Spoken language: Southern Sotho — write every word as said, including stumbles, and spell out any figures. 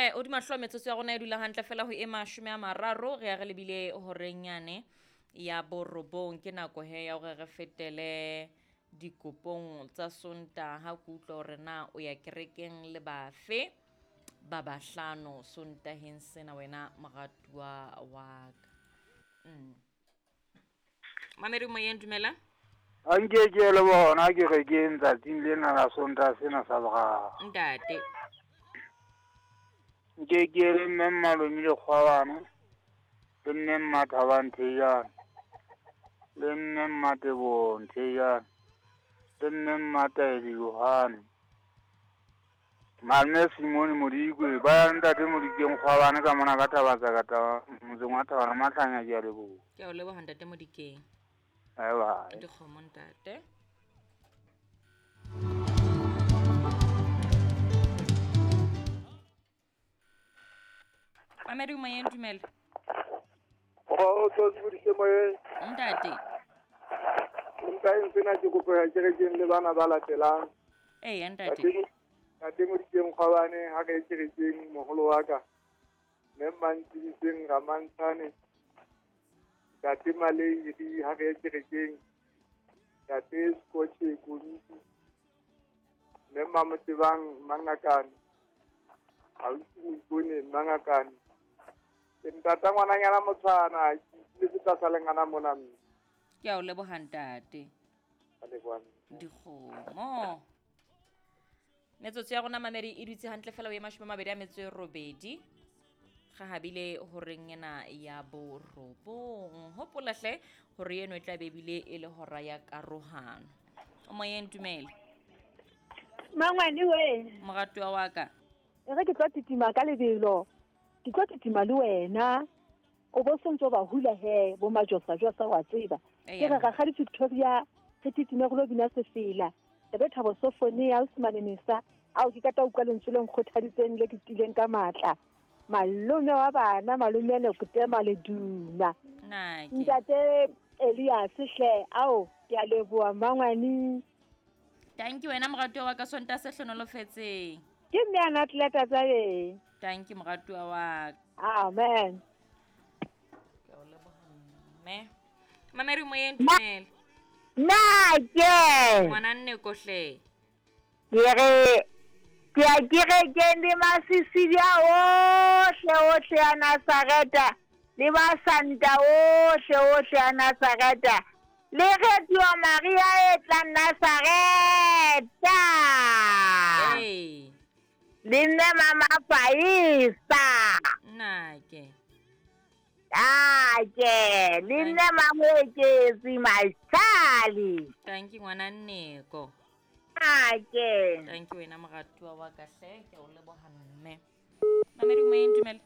Tjhe, o di mahlo metsotso ya rona e dula hantle fela ho e mashome a mararo re ya re lebile horeng yane ya borobong. Ke nako he ya hore re fetele dikopong tsa Sontaha. Ke utlwa hore na o ya kerekeng le bafe ba bahlano Sontaheng sena wena moratuwa wa ka. Mm. Mamedi moyeng, dumela. A nke ke le bona kerekeng tsatsing lena la Sontaha sena sa boraro. Ntate. Nke ke le mme Mmalome Lekgwabane, le mme Mmathabang Thejane, le mme Mmatebong Thejane, le mme Mmataedi Yohane, Malome Simone Modikwe, ba ya ntate Modikeng Kgwabane ka mona ka Thabatsa ka taba motseng wa Thabana Mahlanya, ke a leboha. Ke a o leboha ntate Modikeng. Bye bye. Dikgomo ntate. Mamedi moyeng, dumela. Kgotso Sebodise moyeng. Ntate. Ntate sena ke kopo ya kerekeng le bana ba latelang. Eya ntate. Ntate Modikeng Kgwabane ha re kerekeng moholo wa ka. Mme Mantshidiseng Ramantshane. Ntate Maleiri ha re kerekeng. Ntate Scotche Komiti. Mme Mamotebang Mangakane. Ausi Moipone Mangakane. Ke ntata ngwananyana motshwana, ke le tlasa lengana mona mme. Ke a o leboha ntate. A leboha. Dikgomo. Metsotso ya rona mamedi e dutse hantle fela o e mashome a mabedi a metso e robedi. Ga habile horeng ena ya borobong. Hopola hle hore eno e tla be ebile e le hora ya karohano. O moyeng, dumela. Mangwane we. Moratuwa wa ka. E re ke tlo titima ka lebelo. Ke tlo titima le wena. O bo sontso ba hula he bo majosa josa wa tseba. Ke re rakgadi Victoria re titime go lo bina sefela. E be Thabo Sofonia Usmane Mesa ao ke kata utlwa lentswe le nkgothaditseng le ke tileng ka matla. Malome wa bana malome le kutema le duma. Nake. Ntate Elias hle ao ke a leboha mangwane. Thank you wena moratuwa wa ka, Sontaha se hlonolofetseng. Ke mme a atleta tsa eng. Thank you moratuwa wa ka. Amen. Ke o leboha mme. Mamedi moyeng, dumela. Nake. Ngwana nne kohle. Ke re ke a kerekeng le masisidia ohle ohle a Nazareta le ba Santa ohle ohle a Nazareta le kgethiwa Maria e tlang Nazareta. Hey. Le mme Mama Faisa. Nake. Ake, le mme Mamoeketsi Mashali. Thank you ngwana Nneko. Ake. Thank you wena moratuwa wa ka hle, ke o leboha mme. Mamedi moyeng, dumela.